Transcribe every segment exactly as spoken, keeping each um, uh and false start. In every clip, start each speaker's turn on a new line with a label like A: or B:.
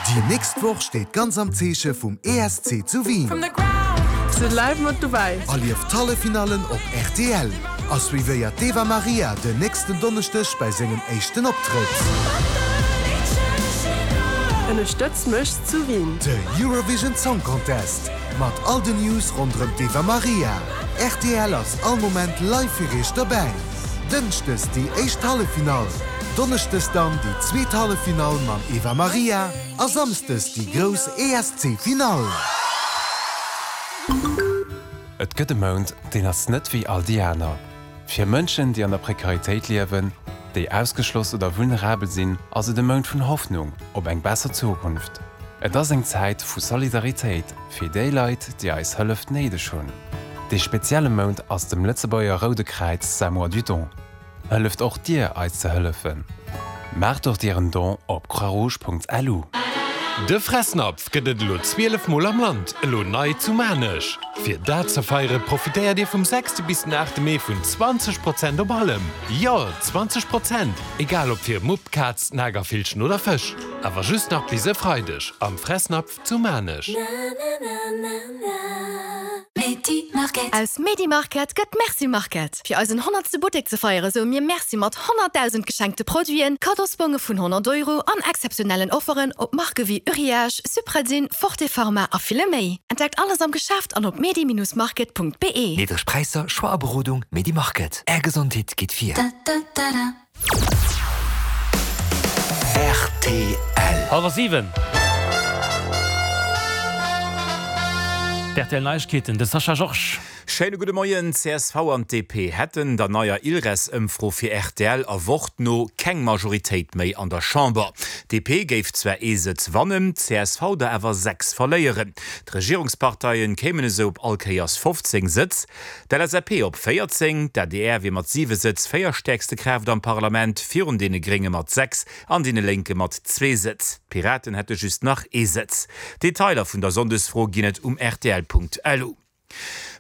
A: Déi nächst Woch steet ganz am Zeeche vum E S C zu Wien.
B: Sidd live mat dobäi.
A: Erlieft d'Halleffinallen op R T L a suivéiert d'Eva Marija den nächsten Donneschdeg bei sengem éischten Optrëtt.
B: Ënnerstëtzt mech zu Wien.
A: De Eurovision Song Contest mat all den News ronderëm d'Eva Marija. R T L ass all Moment live fir iech dobäi. Dënschdes déi éischt Halleffinall, Donneschdes dann déi zweet Halleffinall mam Eva Marija a Samschdes déi grouss E S C-Finall.
C: Et gëtt e Mount, deen ass net wéi all déi aner. Fir Mënschen, déi an der Prekaritéit liewen, déi ausgeschloss oder vulnerabel sinn, ass et e Mount vun Hoffnung op eng besser Zukunft. Et ass eng Zäit vu Solidaritéit fir déi Leit, déi eis Hëllef néideg hunn. De spezielle Mount ass dem Lëtzebuerger Roude Kräiz säi Mois du Don. Hëlleft och dir eis ze hëllefen. Maacht och dir en Don op croixrouge Punkt L U.
D: De Fressnapf gëtt et elo zwielef Mol am Land, elo nei zu Maarnech. Fir dat ze feiere profitéiert Dir vum sechste bis den aachte Mee vun zwanzeg Prozent op allem. Jo, zwanzeg Prozent! Egal ob fir Mupp, Kaz, Nagervillchen oder Fësch. Awer just nach bis e Freideg am Fressnapf zu Maarnech.
E: Aus Medimarket gëtt Merci Market. Fir eisen honnertste Buttek ze feiere soe mir Merci mat honnertdausend geschenkte Produiten, Kaddosbonge vun honnert Euro an exzeptionellen Offeren op Marke wéi Uriage, Supradyn, Forte Pharma a ville méi. Entdeckt alles am Geschäft an op medi Bindestrich market Punkt be.
F: Niddreg Präisser, Choix a Berodung, Medimarket. Är Gesondheet geet vir.
A: R T L.
G: Hallwer siwen. D R T L Neiegkeeten, de Sascha Georges.
H: Schéine gudde Moien. C S V an D P hätten der neier ILRES-Ëmfro fir R T L a Wort no keng Majoritéit méi an der Chamber. D P géif zwar ee Sëtz wannen, C S V der awer sechs verléieren. D'Regierungsparteien kéimen esou op all Kéiers fofzéng Sëtz. D L S A P op véierzéng, d'A D R wier mat siwe Sëtz véierstäerkste Kraaft am Parlament, virun deene Grénge mat sechs an deene Lénke mat zwee Sëtz. D'Piraten hätte just nach ee Sëtz. Detailer vun der Sonndesfro ginn et um R T L Punkt L U.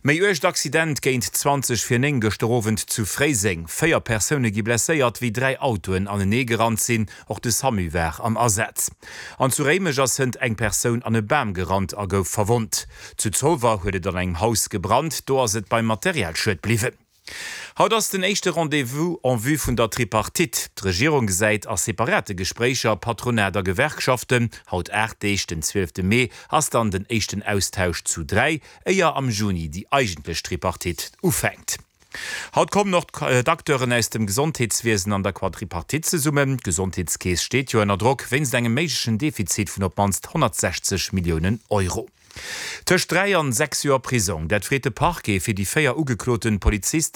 H: Méi uergt Accident géint zwanzeg vir néng gëschter Owend zu Fréiseng. Véier Persoune gi blesséiert, wéi dräi Autoen anenee gerannt sinn. Och de SAMU war am Asaz. An zu Réimech ass hënt eng Persoun an e Bam gerannt a gouf verwonnt. Zu Zolwer huet et an engem Haus gebrannt, do ass et beim Materialschued bliwwen. Haut ass den éischte Rendez-vous en vue vun der Tripartite. D'Regierung gesäit a separate Gespréicher Patronat a Gewerkschaften. Haut aacht Deeg, den zwielefte Mee, ass dann den éischten Austausch zu dräi, éier am Juni déi eigentlech Tripartite ufänkt. Haut kommen och d'Acteuren aus dem Gesondheetswiesen an der Quadripartite zesummen. D'Gesondheetskeess steet jo ënner Drock wéinst engem méiglechen Defizit vun op d'mannst honnertsechzeg Milliounen Euro. Tëscht dräi an sechs Joer Prisong, dat freet de Parquet fir déi véier ugeklote Polizisten.